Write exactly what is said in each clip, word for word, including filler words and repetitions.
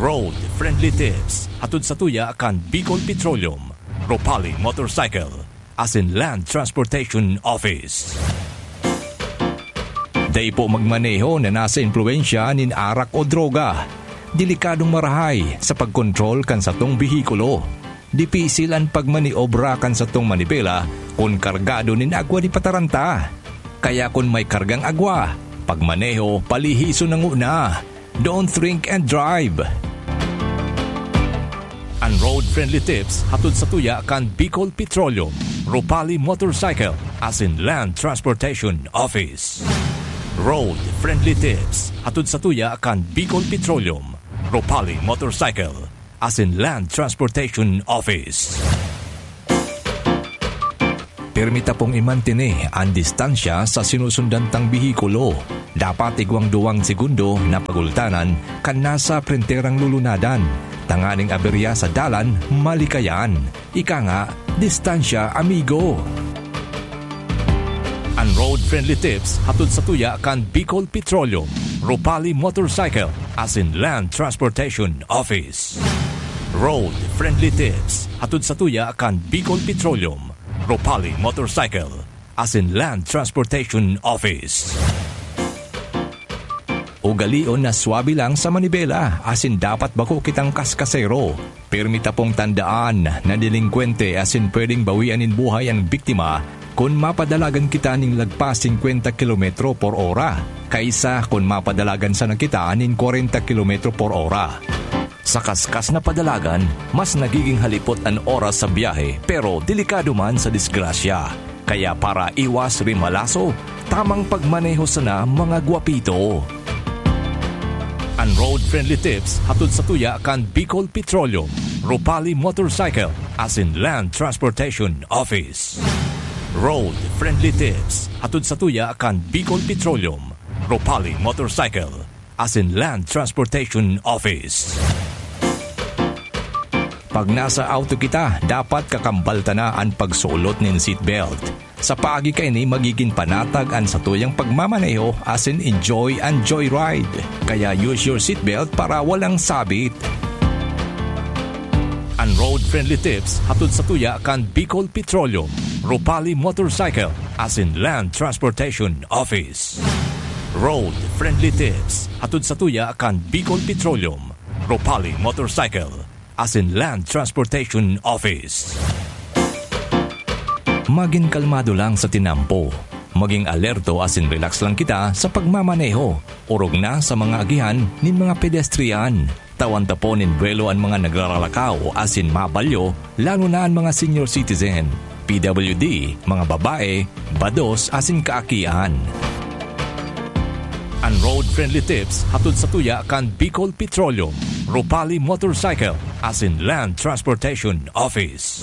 Road Friendly Tips, hatod sa tuya kan Bicol Petroleum, Ropali Motorcycle, asin Land Transportation Office. Dai po magmaneho na nasa impluwensya nin arak o droga. Delikadong marahay sa pagkontrol kan satong behikulo. Dipisil an pagmaniobra kan satong manibela kun kargado nin agwa di pataranta. Kaya kun may kargang agwa, pagmaneho palihison na nguna. Don't drink and drive. An road-friendly tips hatod sa tuya kan Bicol Petroleum, Ropali Motorcycle, asin Land Transportation Office. Road-friendly tips hatod sa tuya kan Bicol Petroleum, Ropali Motorcycle, asin Land Transportation Office. Pirmi ta pong imantene an distansya sa sinusundan tang behikulo. Dapat igwang duwang segundo na pagultanan kan nasa prenterang lulunadan, tanganing aberya sa dalan malikayan. Ika nga, distansya, amigo. An road-friendly tips hatod sa tuya kan Bicol Petroleum, Ropali Motorcycle, asin Land Transportation Office. Road-friendly tips hatod sa tuya kan Bicol Petroleum, Ropali Motorcycle, asin Land Transportation Office. Ugalion na swabe lang sa manibela, asin dapat bako kitang kaskasero. Pirmi ta pong tandaan na delengkwente asin pwedeng bawian nin buhay an biktima kun mapadalagan kita nin lagpas singkwenta kilometro por ora, kaysa kun mapadalagan sana kita nin kwarenta kilometro por ora. Sa kaskas na padalagan, mas nagiging halipot an oras sa biyahe, pero delikado man sa disgrasya. Kaya para iwas rimalaso, tamang pagmaneho sana, mga gwapito. An road-friendly tips hatod sa tuya kan Bicol Petroleum, Ropali Motorcycle, asin Land Transportation Office. Road-friendly tips hatod sa tuya kan Bicol Petroleum, Ropali Motorcycle, asin Land Transportation Office. Pag nasa auto kita, dapat kakambal ta na an pagsulot nin seatbelt. Sa paagi kaini, magigin panatag an satuyang pagmamaneho asin enjoy an joyride. Kaya use your seatbelt para walang sabit. An road-friendly tips hatod sa tuya kan Bicol Petroleum, Ropali Motorcycle, asin Land Transportation Office. Road-friendly tips hatod sa tuya kan Bicol Petroleum, Ropali Motorcycle, asin Land Transportation Office. Magin kalmado lang sa tinampo. Maging alerto asin relax lang kita sa pagmamaneho, orog na sa mga agihan nin mga pedestrian. Tawan ta po nin buwelo an mga nagraralakaw asin mabalyo, lalo na an mga senior citizen, P W D, mga babae, bados asin kaakian. An road-friendly tips hatod sa tuya kan Bicol Petroleum, Ropali Motorcycle, asin Land Transportation Office.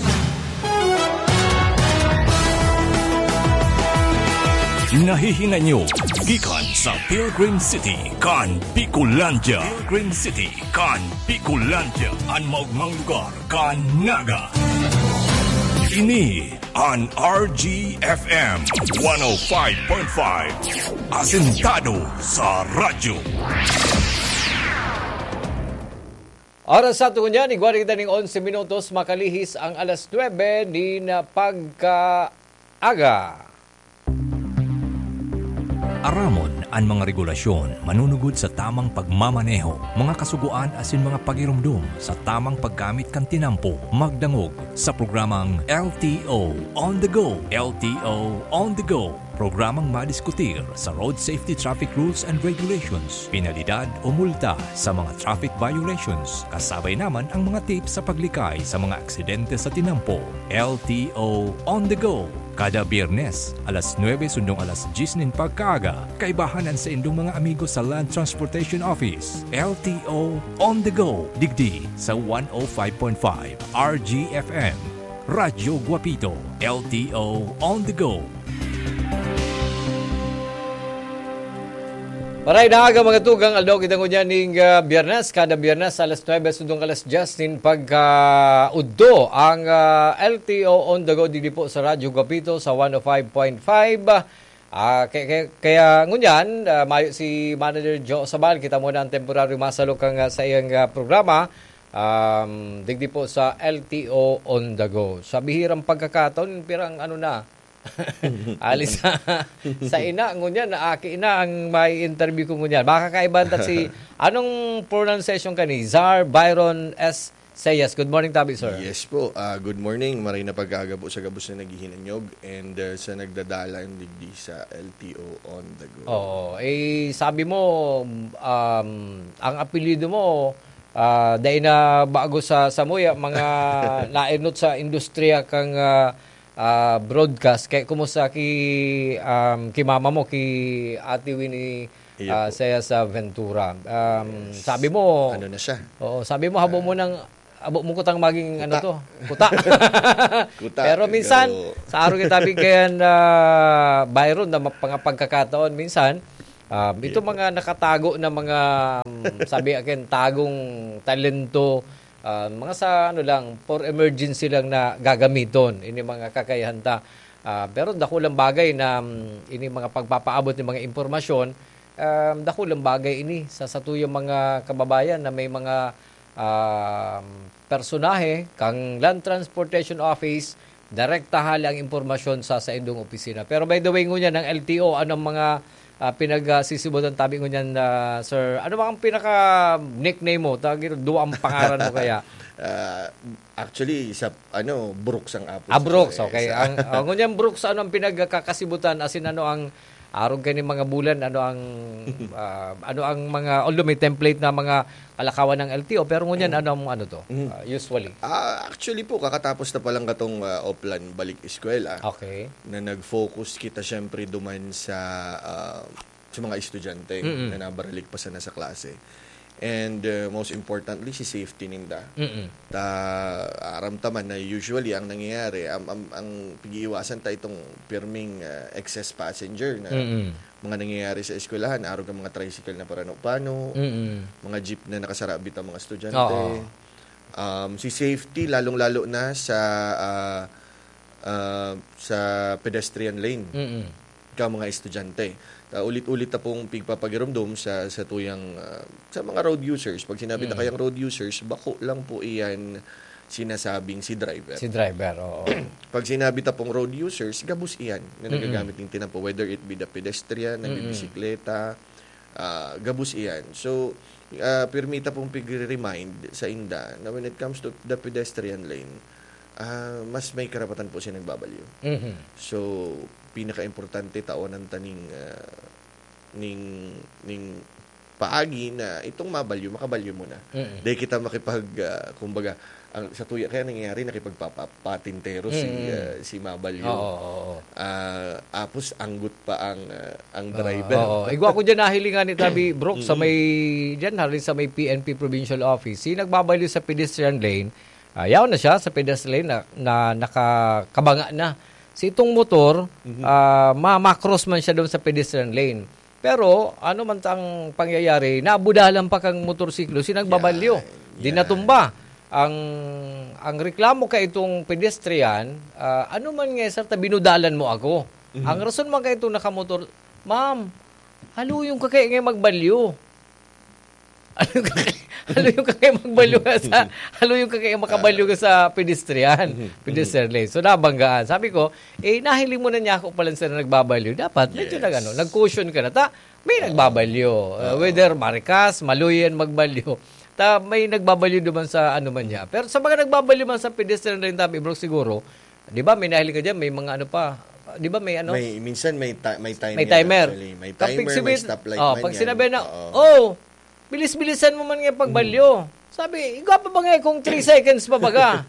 Nahihinay nyo gikan sa Pilgrim City kan Bicolandia. Pilgrim City kan Bicolandia, an maogmang lugar kan Naga. Ini an R G F M one oh five point five, asentado sa radyo. Oras sa aton ngunyan, igwa na kita ning onse minutos, makalihis ang alas nuebe nin pagkaaga. Aramon an mga regulasyon manunugod sa tamang pagmamaneho, mga kasugoan asin mga pagiromdom sa tamang paggamit kan tinampo. Magdangog sa programang L T O on the Go. L T O on the Go. Programang madiskutir sa road safety traffic rules and regulations, penalidad o multa sa mga traffic violations, kasabay naman ang mga tips sa paglikay sa mga aksidente sa tinampo. L T O on the Go. Kada Biyernes, alas nuebe sundong alas dyes nin pagkaaga, kaibahan an saindong mga amigo sa Land Transportation Office. L T O on the Go, digdi sa one oh five point five R G F M. Radyo Guapito, L T O on the Go. Maray na aga, mga tugang, aldaw kita ngunyan ning, ah, Biyernes. Kada Biyernes, alas nuebe sundong alas dyes nin pagkaudto, ang, ah, L T O on the Go digdi po sa Radyo Guapito sa one oh five point five. Ah, kaya, kaya, kaya ngunyan, ah, mayo si Manager Joe Sabal, kita mo na ang temporary masalok ang, ah, sa iyang, ah, programa. Um, digdi po sa L T O On The Go. Sa bihirang pagkakataon, pirang ano na, alis sa, sa ina, ngunyan, na aki na ang may interview ko ngunyan. Makakaiba ta si, anong pronunciation ka ni? Zar Byron S. Sayas. Good morning, tabi, sir. Yes po. Ah, good morning. Maray na pagkaaga po sa gabos na naghihinanyog and, ah, sa nagdadalan digdi sa L T O On The Go. Oo. Eh, sabi mo, um, ang apelyido mo, ah, dai na bago sa, sa muya, mga nainot sa industriya kang, ah, ah, broadcast. Kaya kumusta ki, um, ki mama mo, ki Ate Winnie, Iyo ah, po. Saya sa Ventura? Um, Yes. Sabi mo, Ano na siya? Oo, sabi mo, habo Ah. mo ng, habo mo kutang maging, ano Kuta. to? Kuta. Kuta, Pero minsan, pero sa araw kita bigyan, ah, Byron, na ma-, mga pagkakataon, minsan, um, Iyo itong po. mga nakatago na mga, um, sabi akin, tagong talento, ah, mga sa ano lang, for emergency lang na gagamiton, ini mga kakayahan ta. Ah, pero dakulang bagay na, um, ini mga pagpapaabot ng mga impormasyon, um, dakulang bagay ini sa satuyang mga kababayan na may mga, um, personahe kang Land Transportation Office, direkta hali ang impormasyon sa saindong opisina. Pero by the way, ngunyan, ang L T O, anong mga, ah, pinagsisibutan tabi ngunyan, ah, sir? Ano ba ang pinaka-nickname mo? Tawag ito, duwa ang pangaran mo kaya? Ah, actually, sa, ano, Brooks ang apod Ah, sa Brooks, eh, okay. sa Ang, ah, ngunyan, Brooks, ano ang pinagkakasibutan? As in, ano ang, arog kayo ng mga bulan, ano ang, ah, ano ang mga, although may template na mga kalakawan ng L T O, pero ngunyan, Mm. ano ang, ano to? Mm. Ah, usually? Ah, actually po, kakatapos na palang katong, ah, Oplan Balik Eskwela, Okay. na nag-focus kita, syempre, duman sa, ah, sa mga estudyante Mm-mm. na nabaralik pa sana sa klase. And, uh, most importantly, si safety ninda. Mm-mm. Ta, aram ta man na usually ang nangyayari, am-, am-, ang pag-iiwasan ta itong pirming, uh, excess passenger na Mm-mm. mga nangyayari sa eskwelahan, arog ang mga tricycle na parano-pano, Mm-mm. mga jeep na nakasarabit ang mga estudyante. Oo. Um, si safety, lalong-lalo na sa, ah, ah, sa pedestrian lane. Mm-mm. Ka mga estudyante. Ah, ulit-ulit na pong pigpapagiromdom sa, sa tuyang, ah, sa mga road users. Pag sinabi na Mm. kayang road users, bako lang po iyan sinasabing si driver. Si driver, oo. Pag sinabi ta pong road users, gabos iyan na Mm-mm. nagagamit ng tinampo, whether it be the pedestrian, Mm-mm. nagbibisikleta, ah, gabos iyan. So, ah, pirmi ta pong pigre-remind sa inda na when it comes to the pedestrian lane, ah, mas may karapatan po siya nagbabalyo. Mhm. So, pinaka-importante, taonan ta ning, ah, ning, ning paagi na itong mabalyo, makabalyo mo na. Mm. Di kita makipag, ah, kumbaga, ang, sa tuya, kaya nangyayari, nakipagpapatintero si, Mm. ah, si mabalyo. Oo, oo, oo. Ah, apos anggot pa ang, ah, ang Ah, driver. oo. Igwa ko dyan, nahilingan ni Tabi Brooks sa Mm. may, dyan, halin sa may P N P Provincial Office. Si nagbabalyo sa pedestrian lane, ah, yaon na siya sa pedestrian lane na, na nakakabanga na. Si itong motor, Mhm. ah, ma-, ma-cross man siya doon sa pedestrian lane. Pero, ano man tang pangyayari, nabudalan pa kang motorsiklo, si nagbabalyo. Yan, Di yan. natumba. Ang, ang reklamo ka itong pedestrian, ah, "Ano man nga, sir, ta binudalan mo ako?" Mhm. Ang rason man ka itong nakamotor, "Ma'am, haluyong ka kaya nga magbalyo." Haluyong ka kaya, haluyong ka kaya magbalyo ka sa, haluyong ka kaya makabalyo ka sa pedestrian, Mhm. pedestrian lane. So, nabanggaan. Sabi ko, "Eh, nahiling mo na niya ako pala sa nagbabalyo. Dapat, medyo Yes. nag-ano, nag-caution ka na." Ta, may Oo. nagbabalyo. Uh, Oo. whether marikas, maluyan, magbalyo. Ta, may nagbabalyo naman sa ano man niya. Pero sa mga nagbabalyo man sa pedestrian lane, Tabi Bro, siguro, di ba, may nahiling ka dyan, may mga ano pa. Di ba, may ano? May, minsan may ti-, may timer May timer. actually. May Kapag timer, may sinabi-, stoplight oh, man pag yan. sinabi na, Oo. "Oh, bilis-bilisan mo man nga pagbalyo." Mhm. Sabi, "Igwa pa ba nga kung three seconds pa baga?"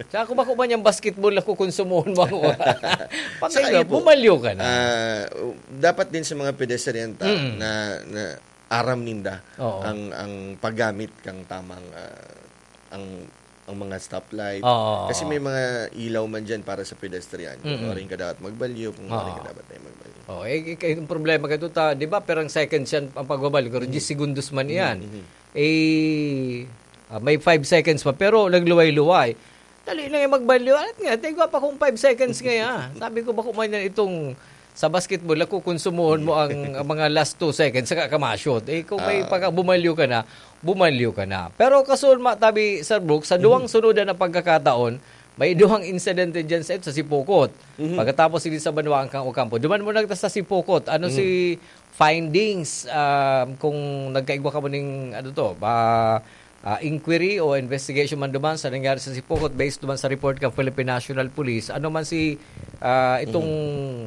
Sa ako ba ko ba niyang basketball ako, konsumuhon mo ako? Pag Saka ganyan, yun po, bumalyo ka na. ah, dapat din sa mga pedestrian ta Mm. na, na aram ninda Oo. ang, ang paggamit kang tamang, ah, ang, ang mga stoplight. Oo, oo, Kasi oo. may mga ilaw man dyan para sa pedestrian. Kung Mm. orin ka dapat magbalyo, kung Oo. orin ka dapat na magbalyo. Oh, eh, eh, yung problema ka ito, ta, di ba, perang seconds yan ang pagbabalyo, pero Mm. diyes segundos man Mm, iyan. mm. Eh, ah, may five seconds pa, pero nagluway-luway. Dali na nga magbalyo. At nga, tigwa pa kung five seconds nga, ah. Sabi ko, "Bako man yan itong Sa basketball, ako, konsumohon mo ang, ang mga last two seconds, saka ka ma-shoot. Eh, kung may Ah. pagka-, bumalyo ka na, bumalyo ka na. Pero kasulma, tabi, Sir Brooks, sa duwang Mhm. sunod na pagkakataon, may duwang insidente dyan sa, sa Sipocot. Mhm. Pagkatapos, hindi sa Banwa ang Ocampo. Duman mo na sa Sipocot. Ano Mhm. si findings, ah, kung nagkaigwa ka mo ning, ano to, ba, ah, inquiry o investigation man duman sa nangyari sa Sipocot based duman sa report ng Philippine National Police? Ano man si, ah, itong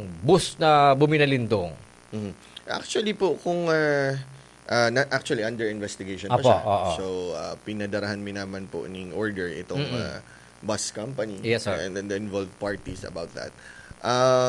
Mhm. bus na buminalindong? Mhm. Actually po, kung, ah, ah, na, actually, under investigation pa Apo, siya. oo. So, ah, pinadarahan mi naman po ning order itong, Mm-mm. ah, bus company Yes, sir. and then the involved parties about that. Ah,